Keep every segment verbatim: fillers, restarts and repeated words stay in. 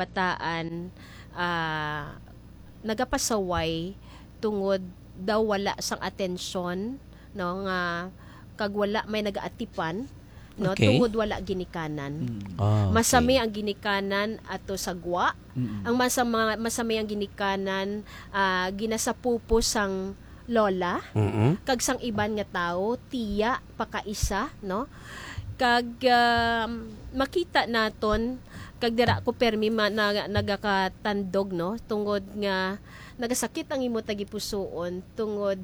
bataan, ah, nagapasaway tungod daw wala sang atensyon, no, nga kag wala may nagaatipan, no, Okay. tungod wala ginikanan. Mm. Ah, okay. Masami ang ginikanan ato sa gwa. Mm. Ang masa-, mga, masami ang ginikanan, ah, ginasapupo sang lola, Mm-mm. kag sang iban nga tawo, tiya, pakaisa, no? Kag, um, makita naton, kag dira ko permi ma-, na-, nagakatandog, no? Tungod nga nagasakit ang imo tagipusoon, tungod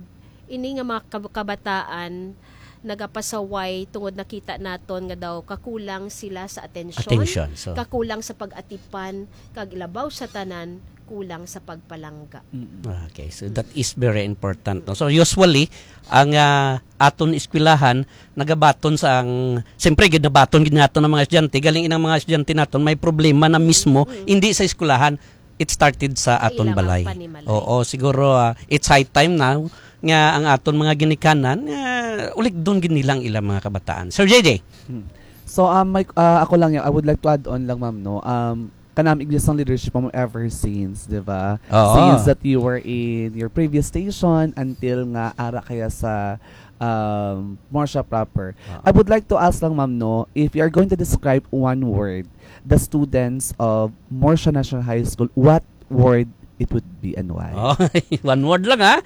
ini nga mga kab-, kabataan nagapasaway tungod nakita naton nga daw kakulang sila sa atensyon, Atensyon, so. kakulang sa pag-atipan, kag ilabaw sa tanan, kulang sa pagpalangga. Mm-mm. Okay, so that is very important, no? So usually, ang, ah, aton eskwelahan nagabaton sa ang, siyempre, ginabaton gid naton ang mga estudyante. Galing inang mga estudyante naton may problema na mismo, Mm-mm. hindi sa eskwelahan. It started sa Sa aton ilang balay. panimalay. Oo, siguro, ah, it's high time now nga ang aton mga ginikanan, ah, ulikdon gid nila ang ilang mga kabataan. Sir J J. Hmm. So, um, my, ah, ako lang yan, I would like to add on lang, ma'am, no? Um, kanami gid sang leadership mo ever since, di ba? Oo. Since that you were in your previous station until nga ara kaya sa, um, Morsha proper. Oo. I would like to ask lang, ma'am, no, if you are going to describe one word the students of Morsha National High School, what word it would be and why? Oh, one word lang, ha?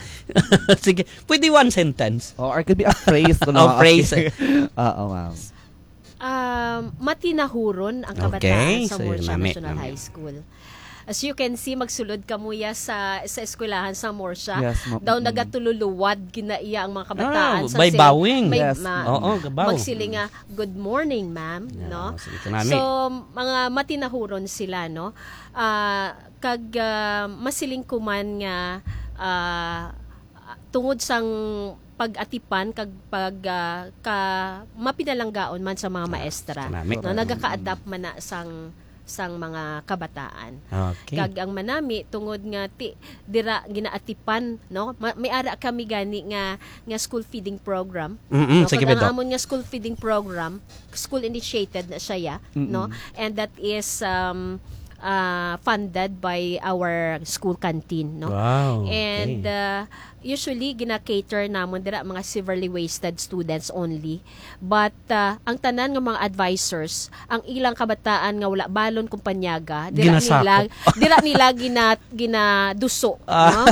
Sige, pwede one sentence. Oh, or it could be a phrase, no? Oh, phrase. Okay. Oo, ma'am. Um, matinahuron ang kabataan Okay, sa so, Morsha nami, National nami. High School. As you can see, magsulod kamo ya sa, sa eskwelahan sa Morsha. Yes, ma'am. Daw Mm. nagatululuwad ginaiya ang mga kabataan Ah, sa by sila, bowing. may Yes, ma-, ma'am. Oo, gabaw. magsiling nga, "Good morning, ma'am," Yeah, no? sige, kanami. So, mga matinahuron sila, no? Ah, kag, ah, masiling ko man nga, ah, tungod sang pag-atipan kag pag, ah, ka-, mapinalanggaon man sa mga Ah, maestra, kanami. no? Correct. Nagaka-adapt man na sang, sang mga kabataan. Okay. Kag ang manami, tungod nga ti-, dira ginaatipan, no? Ma-, may ara kami gani nga, nga school feeding program, Mm-mm, no? sige, Kag ang Doc. amon nga school feeding program, school initiated na siya, ya, Mm-mm. no? And that is, um, ah, funded by our school canteen, no? Wow, And, okay. ah, usually, gina-cater namon dira mga severely wasted students only. But, ah, ang tanan nga mga advisors, ang ilang kabataan nga wala balon kung panyaga, dira Ginasakop. nila, dira nila gina-, ginaduso, Ah. no?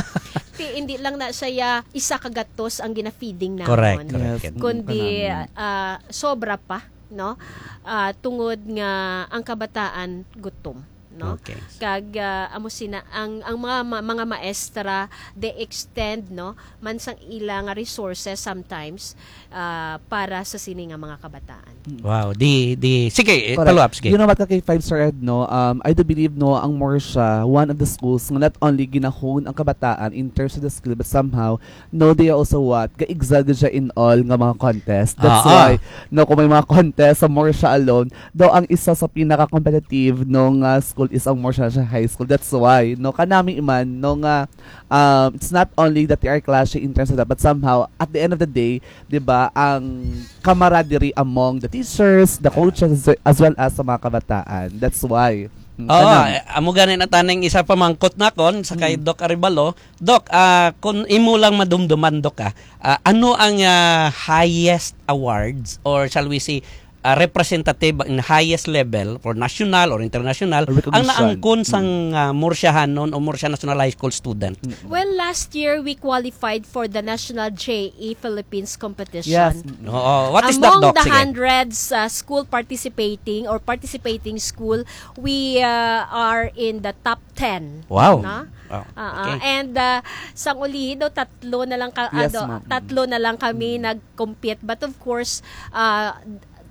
Ti-, hindi lang na siya isa ka gatos ang gina-feeding namon. Correct, correct. Yes. Kundi, Kanami. ah, sobra pa, no? Ah, tungod nga ang kabataan gutom, no? Okay. Kag, ah, amo sina ang, ang mga ma-, mga maestra, they extend, no, man sang ila nga resources sometimes, ah, para sa sini nga mga kabataan. Mm. Wow, di, di, sige, eh, Correct. follow up, sige. You know what, ka K five, Sir Ed, no? Um, I do believe, no, ang Morsha, one of the schools nga not only ginahon ang kabataan in terms of the skill, but somehow, no, they also what? Ga-excel gid siya in all nga mga contest. That's Ah, ah. why, no, kung may mga contest sa Morsha alone, daw ang isa sa pinaka-competitive, no, nga school is ang Morsha National High School. That's why, no, kanami man, no, nga, um, it's not only that they are clashing in terms of that, but somehow, at the end of the day, di ba, ang camaraderie among the teachers, the coaches, as well as sa mga kabataan. That's why. Mm, Oo, kanami. eh, amo gani na taning isa pamangkot nakon sa kay Mm. Doc Arevalo. Doc, ah, kung imo lang madumduman, Doc, ah, ah, ano ang, ah, highest awards or shall we say, ah, representative in highest level for national or international ang Recognition. naangkon sang, Mm. ah, Morshahanon o Morsha National High School student? Mm. Well, last year we qualified for the National J E Philippines competition. Yes. Mm. Oo. What is that, Among Doc? the Sige. hundreds, uh, school participating or participating school, we, uh, are in the top ten. Wow. No? Wow. Ah, ah. Okay. And, uh, sang ulihi daw, tatlo na lang ka-, Yes, ah, daw, ma'am. tatlo na lang kami Mm. nag-compete. But of course, uh,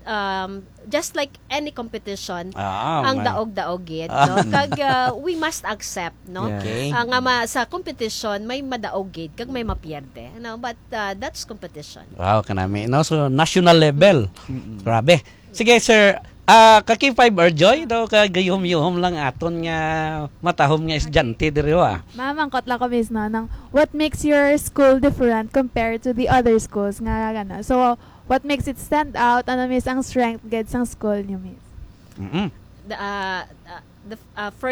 um, just like any competition, Ah, ang may daog-daog gid, Ah. no? Kag, uh, we must accept, no? Yes. Okay. Ah, nga ma-, sa competition, may madaog gid, kag may mapierde, no? But, uh, that's competition. Wow, kanami, no? So, national level. Mm-mm. Grabe. Sige, sir. Ah, ka K five, Arjoy, daw ka gayuhom-yuhom lang aton nga matahom nga estudyante diri, ah. Ma'am, angkot lang ko, miss, no, nang what makes your school different compared to the other schools nga, ano? So, what makes it stand out? Ano, miss, ang strength gid sang school niyo, miss? Mm-mm. The, ah, ah, the f-, ah, first